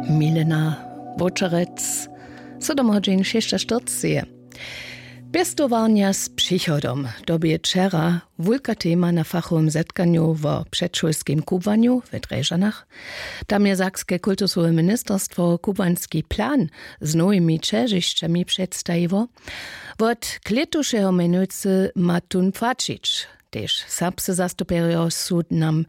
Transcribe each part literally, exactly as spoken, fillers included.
Milena Wočerec. Sydom hodźin šěsćaštyrceje. Pěstowarnja z přichodom, to bě wčera wulka tema na fachowym zetkanju wo předšulskim kubłanju w Drježdźanach. Tam je sakske kultusowe ministerstwo kubłański plan z nowimi ćežišćami předstajiło. Wot klětušeho mjenujcy ma tón płaćić. Tež serbscy zastupjerjo su nam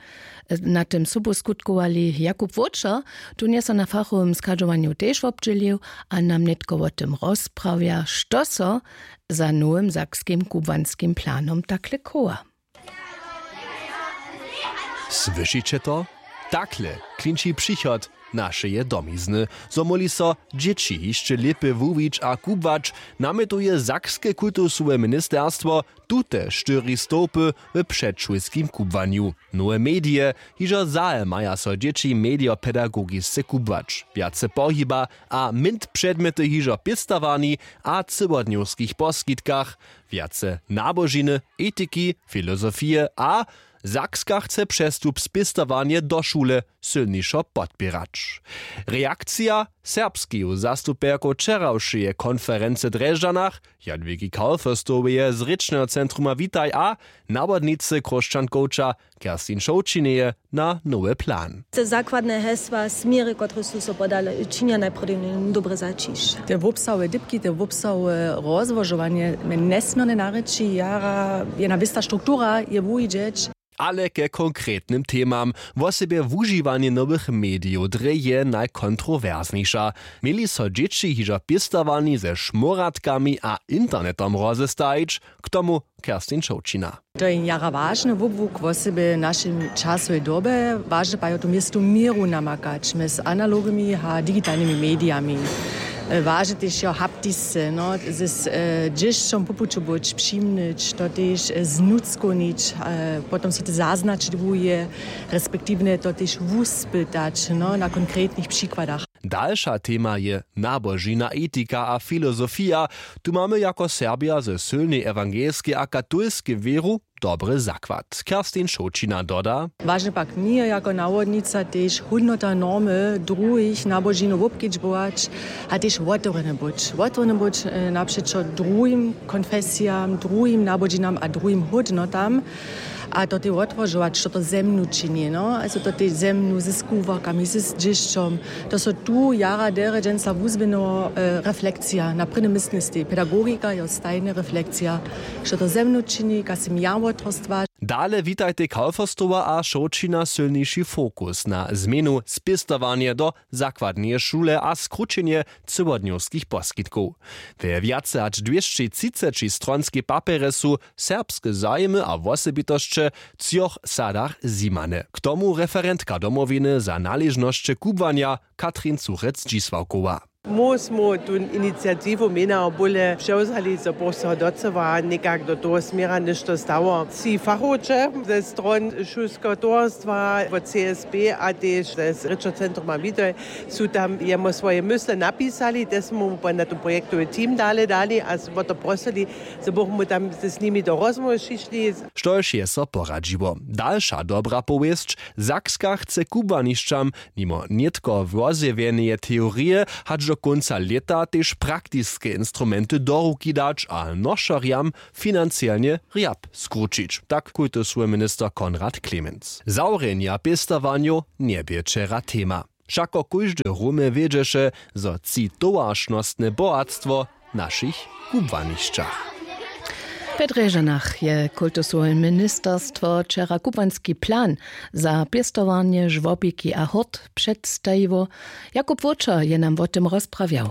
na tym sobu skutkowali. Jakub Wóčer, tón je so na fachowym schadźowanju tež wobdźělił a nam nětko wo tym rozprawja, što so za nowym sakskim kubłanskim planom takle chowa. Słyšiće to? Takle klinči přichod našeje domizny, zo móhli so dźěći hišće lěpje wuwić a kubłać, namjetuje sakske kultusowe ministerstwo. Tute štyri stołpy w předšulskim kubłanju. Nowe medije. Hižo zahe maja so dźěći medijopedagogisce kubłać, wjace pohiba a mint předmjety hižo w pěstowarni a cyłodnjowskich poskitkach, wjace nabožiny, etiki, filozofije a Sakska chce přestup spěstowarnje do šule sylnišo podpěrać. Reakcija serbskeju zastupjerkow wčerawšeje konferency w Drježdźanach, Jadwigi Kaufestoweje z rěčneho centruma Witaj a nawodnicy chróšćankowča Kerstin Šołćineje na nowy plan. Te zakładne hesła, směry, kotrež su so podale, činja najprjedy dobre zaćišće. Te wobsahowe dypki, te wobsahowe rozłožowanje mje njesměrnje narěči, jara jedna wěsta struktura je wuwidźeć. Ale ke konkretnym temam. Wosebje wužiwanje nowych medijow drje je najkontrowerznjejša. Měli so dźěći hižo w pěstowarni ze šmóratkami a internetom rozestajić? K tomu Kerstin Šołćina. To je jara wažny wobłuk wosebje w našej časowej dobje. Wažne pak je tu městu měru namakać mjez analognymi a digitalnymi medijami. E, wažne tež jo haptisce, no, z, z e, dźěšćom po puću być, přimnyć to tež, e, znutřkownić, e, potom so te zaznačdłuje, respektiwnje to tež wuspytać, no, na konkretnych přikładach. Dalša tema je nabožina, etika a filozofija. Tu mamy jako Serbja ze sylnej ewangelskej a katolskej wěru dobry zakład. Kerstin Šołćina doda. Wažne pak njeje jako nawodnica tež hódnota normy druhich nabožinow wobkedźbować a tež wotewrjene być wotewrjene być, e, napřećo druhim konfesijam, druhim nabožinam a druhim hódnotam. A to tej wotłožować što to ze mnu čini, no, also to tej ze mnu ze skubłarkami ze zdźěšćom. To so tu jara derje dźensa wuzběhnyło, e, reflekcija na prěnym městnistej pedagogika jo stajnje reflekcija, što to ze mnu čini, kaž sym ja wotrostła. Dale witajtej Kaufestowa a Šołćina sylniši fokus na změnu spěstowarnje do zakładneje šule a skrućenje cyłodnjowskich poskitkow. We wjace hač dwěsćetřiceći stronskej papjerje su serbske zajimy a wosebitosće w třoch sadach zjimane. K tomu referentka domowiny za naležnosće kubłanja Katrin Cuchec-Dźisławkowa. Móhł smy tu iniciatiwu mjenja bóle přewzali, zo bych so docyła někak do toho směra něšto stało. Tři fachowče ze stron šulskeho towarstwa wot C S P a tež z rěčeho centruma Widoj su tam jemu swoje mysle napisali, te smy mu na ten projektowy team dale dali a smo to prosili, zo bychmy tam z nimi do rozmołwy přišli. Štož je so poradźiło? Dalša dobra powěsć: Sakska chce kubłanišćam nimo nětko wozjewjeneje teorije hač do kónca lěta tež praktiske instrumenty do ruki dać a nošerjam financielnje rjap skrućić, tak kultusowy minister Konrad Clemens. Zawrjenja pěstowarnjow njebě wčera tema. Wšako kóždy rumy wědźeše, zo tři towaršnostne bohatstwo w našich kubłanišćach. W Drježdźanach je kultusowe ministerstwo wčera kubłański plan za pěstowarnje, žłobiki a hurt předstajiło. Jakub Wóčer je nam wo tym rozprawjał.